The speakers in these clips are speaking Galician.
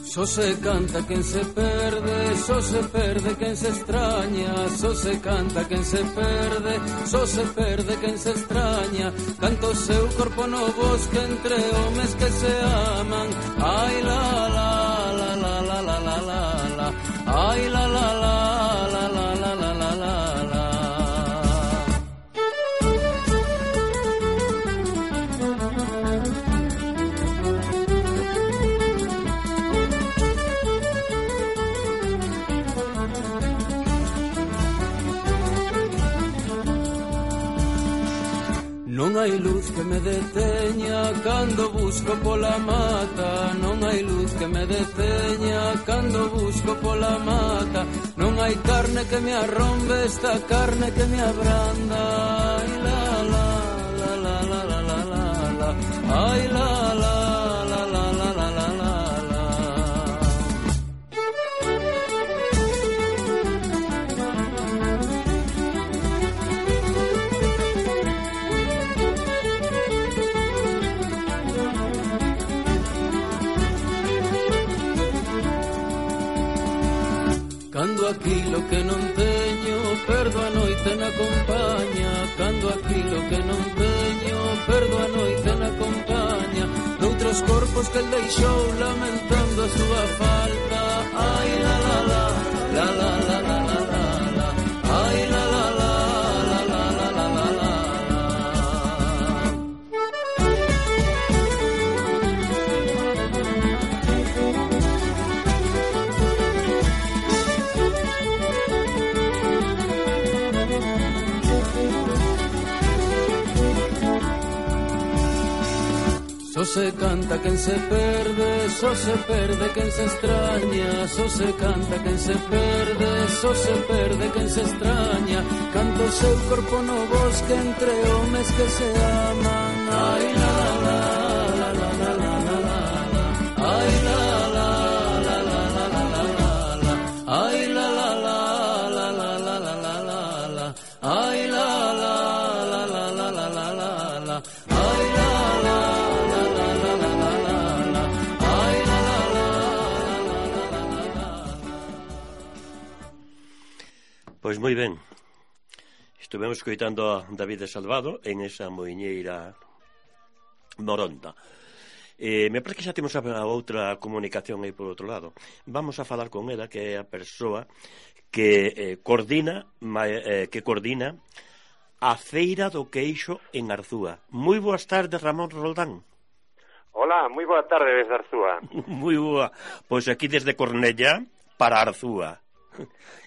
Só se canta quen se perde, só se perde quen se extraña. Só se canta quen se perde, só se perde quen se extraña. Canta o seu corpo no bosque entre homes que se aman. Ai la la la la la la la la la. Ai la la la la la la la la la. Non hai luz que me deteña cando busco pola mata. Non hai luz que me deteña cando busco pola mata. Non hai carne que me arrombe esta carne que me abranda. Ai la la la la la la la la la. Ai la la la la la la la la la. Cando aquilo que non teño perdo a noite na compañía. Cando aquilo que non teño perdo a noite na compañía doutros corpos que el deixou lamentando a súa falta. Ai la la la la la la la la la. Ai la la la la la la la la la. Só se canta quen se perde, só se perde quen se extraña. Só se canta quen se perde, só se perde quen se extraña. Canta o seu corpo no bosque entre homes que se aman. Ai la la la la la la la la. Ai la la la la la la la la. Ai la la la la la la la la la. Ai la la la la la la la la. Ai la la. Pois moi ben, estivemos escoitando a David Salvado en esa moiñeira moronda. Me parece que xa temos a outra comunicación aí por outro lado. Vamos a falar con ela, que é a persoa que coordina a Feira do Queixo en Arzúa. Moi boas tardes, Ramón Roldán. Hola, moi boa tarde desde Arzúa. Moi boa, pois aquí desde Cornellá para Arzúa.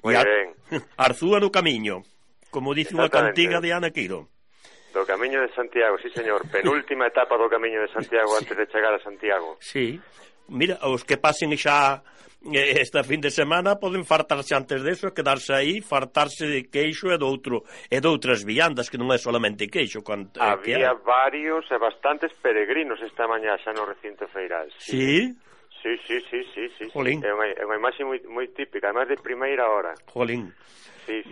Moi ben. Arzúa no camiño, como dice unha cantiga de Ana Quiro. Do Camiño de Santiago, sí señor. Penúltima etapa do Camiño de Santiago antes de chegar a Santiago. Sí. Mira, os que pasen xa esta fin de semana poden fartarse antes deso, quedarse aí, fartarse de queixo e doutras viandas, que non é solamente queixo. Había varios e bastantes peregrinos esta mañá xa no recinto feiral. Sí? Sí. Jolín. É unha imaxe moi típica, además de primeira hora. Jolín. Sí.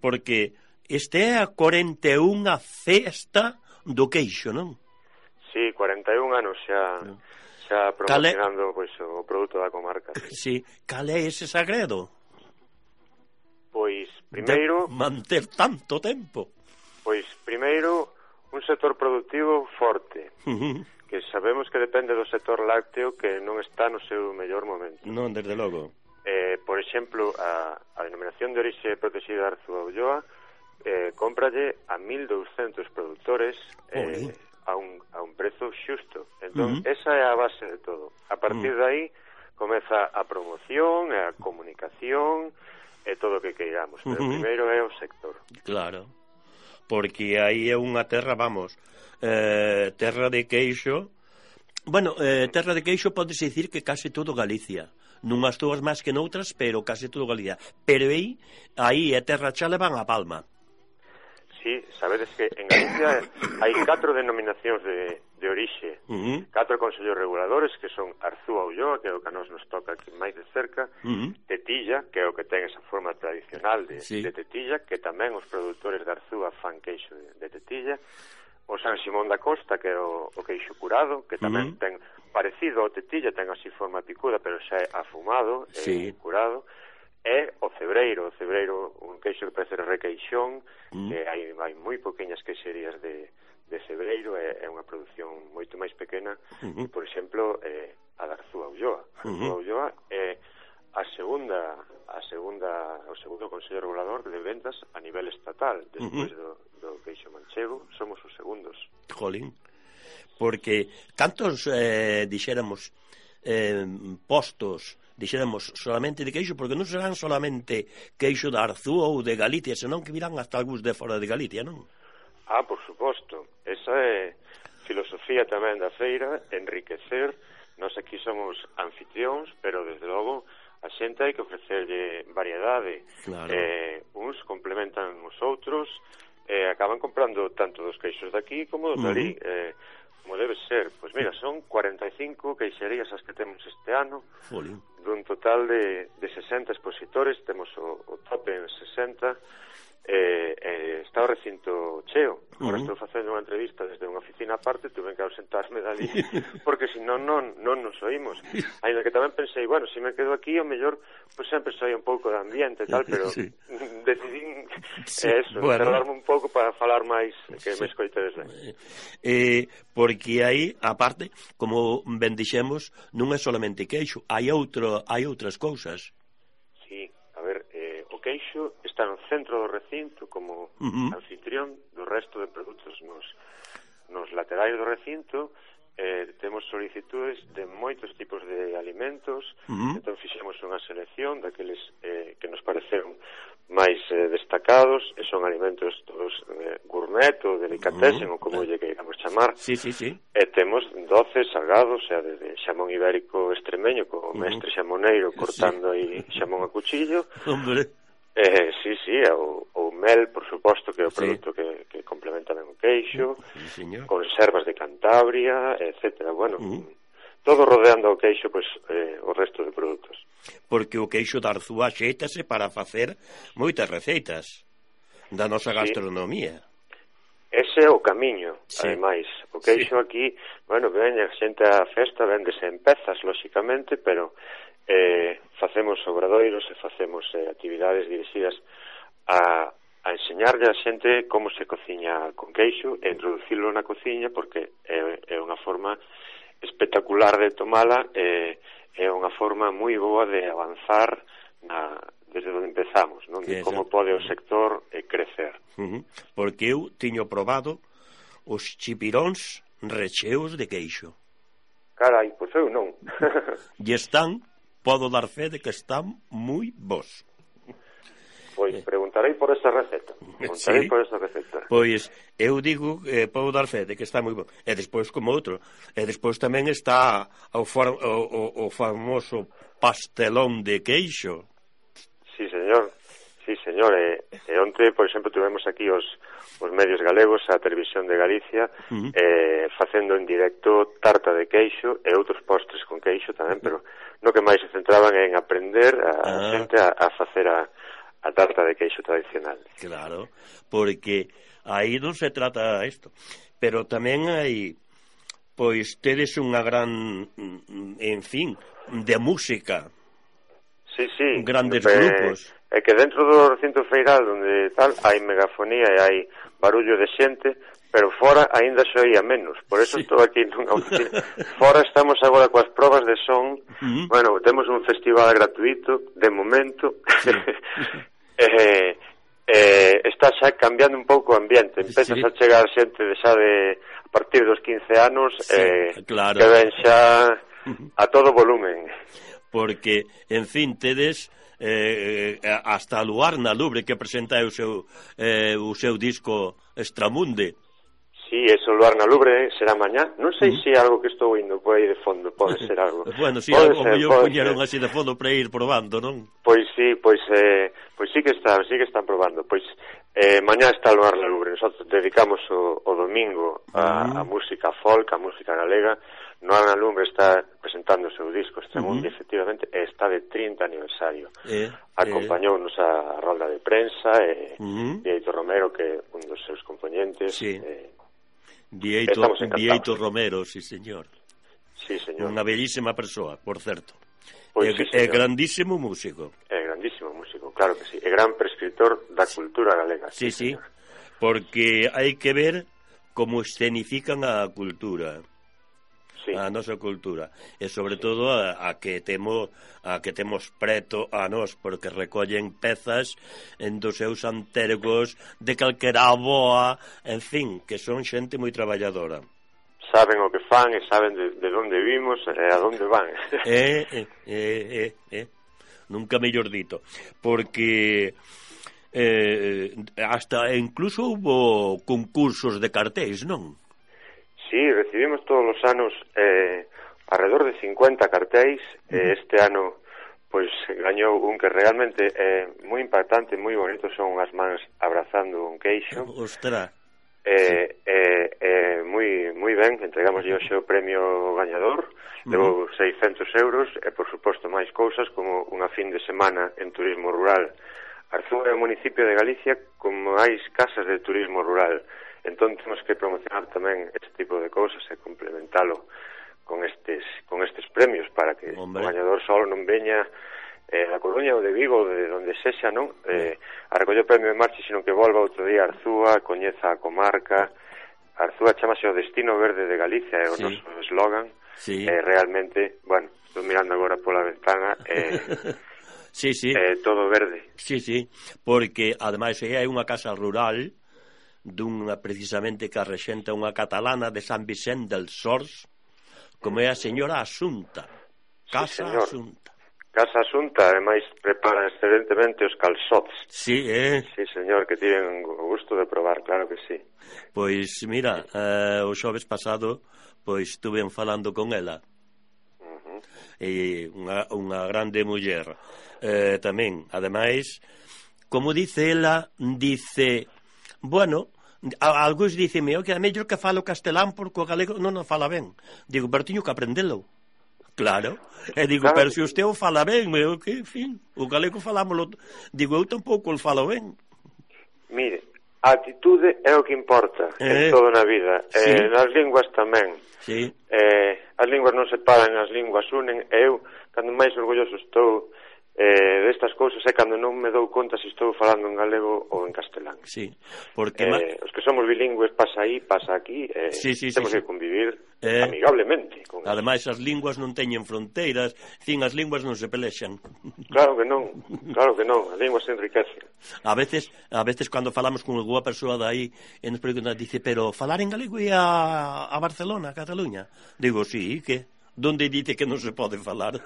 Porque este é a 41ª festa do queixo, non? Sí, 41 anos xa promocionando pois, o produto da comarca. Sí. Cal é ese segredo? Pois, primeiro... manter tanto tempo. Pois, primeiro, un sector productivo forte. Que sabemos que depende do sector lácteo que non está no seu mellor momento. Non, desde logo. Por exemplo, a denominación de orixe protegida de Arzúa Ulloa cómpralle a 1.200 produtores a un prezo xusto. Entón, esa é a base de todo. A partir de aí comeza a promoción, a comunicación e todo o que queiramos. Pero primeiro é o sector. Claro. Porque aí é unha terra, vamos... terra de queixo. Bueno, terra de queixo podes dicir que case todo Galicia, nunhas todas máis que noutras, pero case todo Galicia. Pero aí é terra xa levan a palma. Sí, sabedes que en Galicia hai 4 denominacións de orixe, 4 consellos reguladores que son Arzúa Ulloa, que é o que a nos toca aquí máis de cerca, Tetilla, que é o que ten esa forma tradicional de tetilla, que tamén os produtores de Arzúa fan queixo de tetilla, o San Simón da Costa, que é o queixo curado, que tamén ten parecido ao tetilla, ten así forma picuda, pero xa é afumado, curado, e o cebreiro, un queixo que parece requeixón, que hai moi poqueñas queixerías de cebreiro, é unha produción moito máis pequena, que, por exemplo, a da Arzúa Ulloa. Arzúa Ulloa é o segundo Consello Regulador de Vendas a nivel estatal, despois do queixo manchego, somos os segundos. Jolín, porque cantos dixéramos postos, dixéramos solamente de queixo, porque non serán solamente queixo da Arzúa ou de Galicia, senón que virán hasta algúns de fora de Galicia, non? Por suposto, esa é filosofía tamén da feira, enriquecer. Nós aquí somos anfitrións, pero desde logo a xente hai que ofrecerlle variedade. Claro. Uns complementan os outros, acaban comprando tanto dos queixos daqui como dos dali, como debe ser. Pois mira, son 45 queixerías as que temos este ano, dun total de 60 expositores, temos o tope en 60, está o recinto cheo. Agora estou facendo unha entrevista desde unha oficina aparte, tuve que ausentarme dali porque senón non nos oímos. Ainda que tamén pensei, bueno, se me quedo aquí, o mellor pues sempre soy un pouco de ambiente e tal, pero decidín cerrarme un pouco para falar máis, que me escoitedes ben. Porque aí, aparte, como ben dixemos, non é solamente queixo, hai outras cousas. Sí, a ver, o queixo está no centro do recinto como anfitrión do resto de produtos. Nos laterais do recinto temos solicitudes de moitos tipos de alimentos, entón fixemos unha selección daqueles que nos pareceron máis destacados, e son alimentos todos gourmet ou delicatessen, ou como lle queiramos chamar. E temos 12 salgados, o sea, desde xamón ibérico extremeño, co mestre xamoneiro cortando aí xamón a cuchillo. O mel, por suposto, que é o produto que complementa ben o queixo, conservas de Cantabria, etcétera. Bueno, todo rodeando o queixo, pois, o resto de produtos. Porque o queixo da Arzúa xéitase para facer moitas receitas da nosa gastronomía. Ese é o camiño, ademais. O queixo aquí, bueno, ven a xente a festa, vendese en pezas, lóxicamente, pero facemos obradoiros e facemos actividades dirixidas a enseñarlle a xente como se cociña con queixo e introducirlo na cociña, porque é unha forma espectacular de tomala, é unha forma moi boa de avanzar desde onde empezamos, non? De como pode o sector crecer. Porque eu tiño probado os chipiróns recheos de queixo. Carai, pois eu non. E podo dar fe de que están moi bons. Pois preguntarei por esa receta. Pois eu digo, podo dar fe de que está moi bon. E despois como outro. E despois tamén está o famoso pastelón de queixo. Sí, señor. E onte, por exemplo, tivemos aquí os medios galegos, a Televisión de Galicia, facendo en directo tarta de queixo e outros postres con queixo tamén, pero no que máis se centraban en aprender a xente a facer a tarta de queixo tradicional. Claro, porque aí non se trata isto, pero tamén hai, pois, tedes unha gran, en fin, de música. Sí, grandes grupos. É que dentro do recinto feiral onde tal hai megafonía e hai barullo de xente, pero fora aínda se oía menos. Por eso estou aquí nunha oficina. Fora estamos agora coas probas de son. Bueno, temos un festival gratuito de momento. Está xa cambiando un pouco o ambiente. Empezas a chegar xente xa de a partir dos 15 anos que ven xa a todo volumen. Porque, en fin, tedes hasta Luarna Lubre que presenta o seu disco Extramunde. Sí, eso Luarna Lubre será mañá. Non sei se é algo que estou indo por aí de fondo, pode ser algo. Bueno, si, algo mellor puñeron así de fondo para ir probando, non? Pois sí que están probando. Pois mañá está Luarna Lubre. Nosotros dedicamos o domingo a música folk, a música galega. Luarna Lubre está presentando o seu disco Extramundi, efectivamente, e está de 30 aniversario. Acompañounos a rolda de prensa e Heitor Romero, que é un dos seus componentes. Vieito Romero, sí, señor. Sí, señor. Unha bellísima persoa, por certo. Pois É grandísimo músico. É grandísimo músico, claro que sí. É gran prescritor da cultura galega. Sí, sí, porque hai que ver como escenifican a cultura. Sí. A nosa cultura e sobre todo a que temos preto a nós, porque recollen pezas dos seus antergos de calquera aboa, en fin, que son xente moi traballadora. Saben o que fan e saben de onde vimos e a onde van. Nunca mellor dito, porque hasta incluso hubo concursos de cartéis, non? Sí, recibimos todos os anos alrededor de 50 cartéis. Este ano pois gañou un que realmente é moi impactante, moi bonito, son as mans abrazando un queixo. Ostras. Moi ben, entregamos hoxe o premio gañador, levou 600 euros e por suposto máis cousas como unha fin de semana en turismo rural. Arzúa é o municipio de Galicia con máis casas de turismo rural. Entón temos que promocionar tamén este tipo de cousas e complementalo con estes premios para que o gañador solo non veña da Coruña ou de Vigo ou de onde sexa, non? A recoller o premio de marcha, sino que volva outro día a Arzúa, coñeza a comarca. Arzúa chamase o destino verde de Galicia, é o noso eslogan. Realmente, bueno, estou mirando agora pola ventana sí. Todo verde. Sí, porque ademais hai unha casa rural dunha precisamente que rexenta unha catalana de San Vicente del Sors, como é a señora Asunta. Casa Asunta. Casa Asunta, ademais prepara excelentemente os calzots. Sí, Sí, señor, que tiven o gusto de probar, claro que sí. Pois, mira, o xoves pasado, pois estuve falando con ela. E unha grande muller. Tamén, ademais, como dice ela, dice, bueno, algúns diceme, que é mellor que falo castelán porque o galego non o fala ben. Digo, pero tiño que aprendelo. Claro, e digo, pero se usted o fala ben, que, en fin, o galego falámoslo, digo, eu tampouco o falo ben. Mire, a atitude é o que importa en toda na vida, nas linguas tamén. Sí. As linguas non se paran, as linguas unen, e eu, cando máis orgulloso estou destas cousas é cando non me dou conta se estou falando en galego ou en castelán. Sí, porque os que somos bilingües pasa aí, pasa aquí, temos que convivir amigablemente. Ademais, as linguas non teñen fronteiras, as linguas non se pelexan. Claro que non, as linguas se enriquecen. A veces cando falamos con alguna persoa de aí, e nos preguntan, dice, pero falar en galego é a Barcelona, a Cataluña? Digo, sí, que? Donde dice que non se pode falar?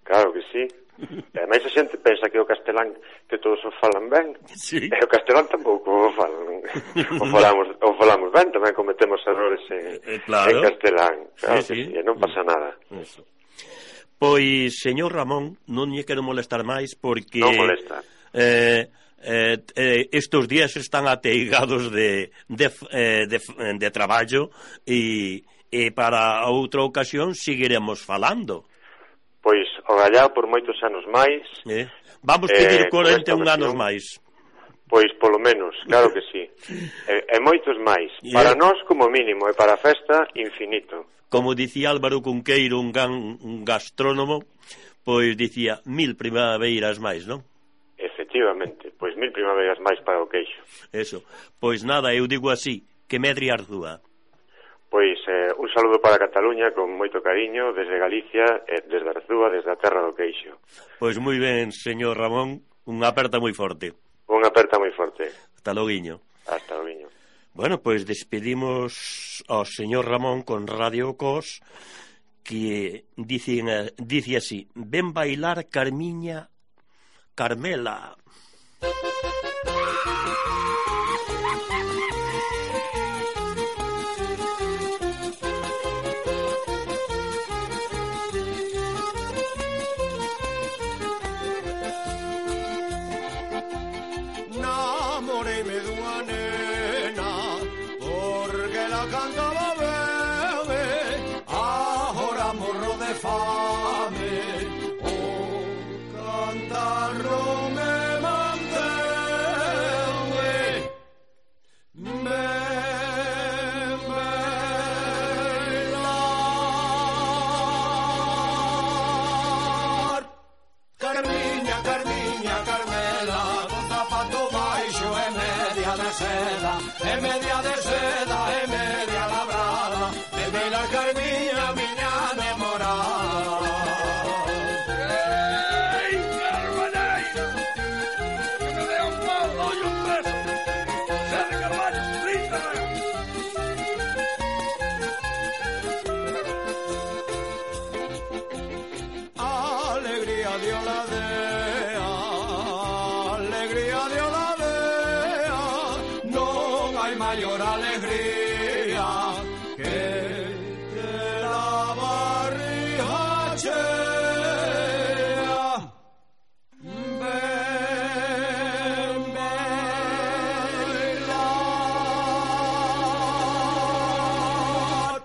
Claro que sí. E ademais a xente pensa que o castelán que todos o falan ben, e o castelán tampouco o falan. O falamos ben, tamén cometemos errores en castelán. Claro que sí, e non pasa nada. Eso. Pois, señor Ramón, non lle quero molestar máis porque non molesta. Estos días están ateigados de traballo e para outra ocasión seguiremos falando. Pois, o gallao por moitos anos máis. Vamos pedir 41 anos máis. Pois, polo menos, claro que sí. E moitos máis. Para nós, como mínimo, e para a festa, infinito. Como dicía Álvaro Cunqueiro, un gastrónomo, pois dicía 1000 primaveras máis, non? Efectivamente, pois 1000 primaveras máis para o queixo. Eso. Pois nada, eu digo así, que medre Arzúa. Pois un saludo para Cataluña con moito cariño desde Galicia, desde Arzúa, desde a terra do queixo. Pois moi ben, señor Ramón, unha aperta moi forte. Unha aperta moi forte. Hasta loguiño. Hasta loguiño. Bueno, pois despedimos ao señor Ramón con Radio Cos, que dice así: ven bailar Carmiña, Carmela. e media de seda, e media labrada, de bailar Carmiña, miña namorada. Ei, Carmaneiro, que me dé un pau, doy un peso. Sede Carballo, 30 reais. Alegría de Oladea, alegría de Oladea, non hai maior alegría que ter a barriga chea. Ven bailar,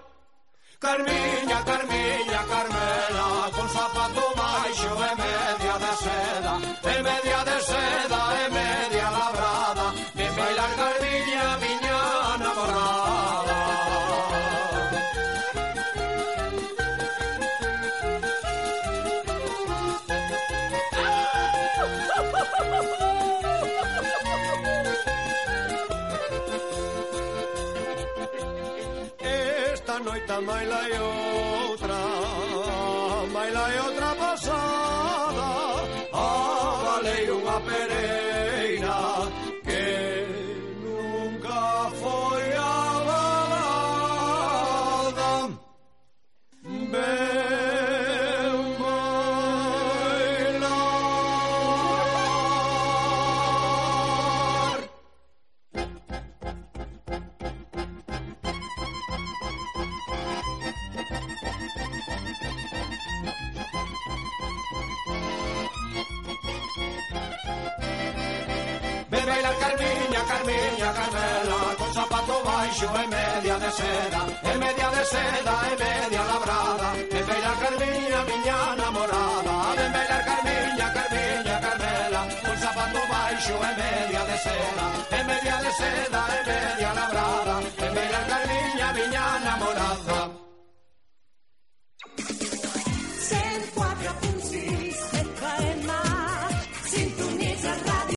Carmiña, Carmiña, Carmela, con zapato baixo e media de seda, e media de seda, e media labrada, ven bailar Carmiña, miña namorada. Esta noite maila e outra pasada, avalei unha pereira que nunca foi avalada. Ven bailar. Ven bailar Carmiña, Carmiña, Carmela, con zapato baixo e media de seda, e media de seda, e media labrada. Ven bailar Carmiña, miña namorada. Ven bailar Carmiña, Carmiña, Carmela, con zapato baixo e media de seda, e media